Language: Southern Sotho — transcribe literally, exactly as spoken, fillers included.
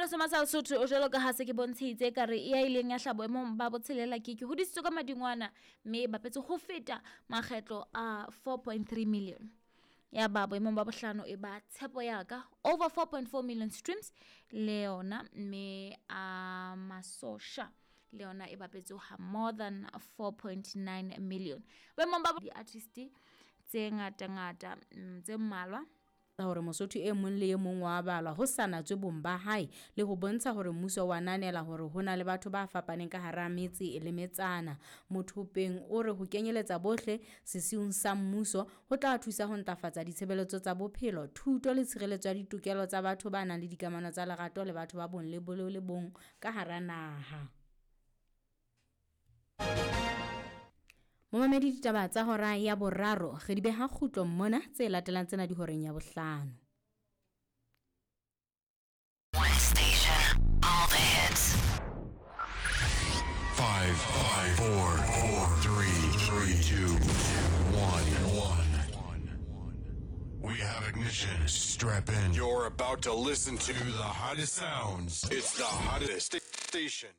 Ngwaneso Masala Sotho, jwalo ka ha se ke bontshitse ka re ya ileng ya hlaha boemong ba botshelela ke ke hodisitswe ka madingwana, mme e bapetse ho feta makgetlo a four point three million. Ya ba boemong ba bohlano e ba Tshepo ya ka, over four point four million streams le yona, mme a Masosha le yona e bapetse ha more than four point nine million. Boemong ba di-artist tse ngata ngata, mm, tse mmalwa. Hore Mosotho e mong le e mong wa balwa ho sa natswe bong ba hae, le ho bontsha hore mmuso wa ananela hore ho na le batho ba fapaneng ka hara metse le metsana. Mothopeng o re ho kenyeletsa bohle sesiung sa mmuso ho tla thusa ho ntlafatsa ditshebeletso tsa bophelo, thuto le tshireletso ya ditokelo tsa batho ba nang le dikamano tsa lerato le batho ba bong le bo le bong ka hara naha. Momamedi, ditaba tsa hora ya boraro re di beha kgutlong mona, tse latelang tsena di horeng ya bohlano. One station, all the hits. Five, five, four, four, three, three, two, one, one. We have ignition. Strap in. You're about to listen to the hottest sounds. It's the hottest station.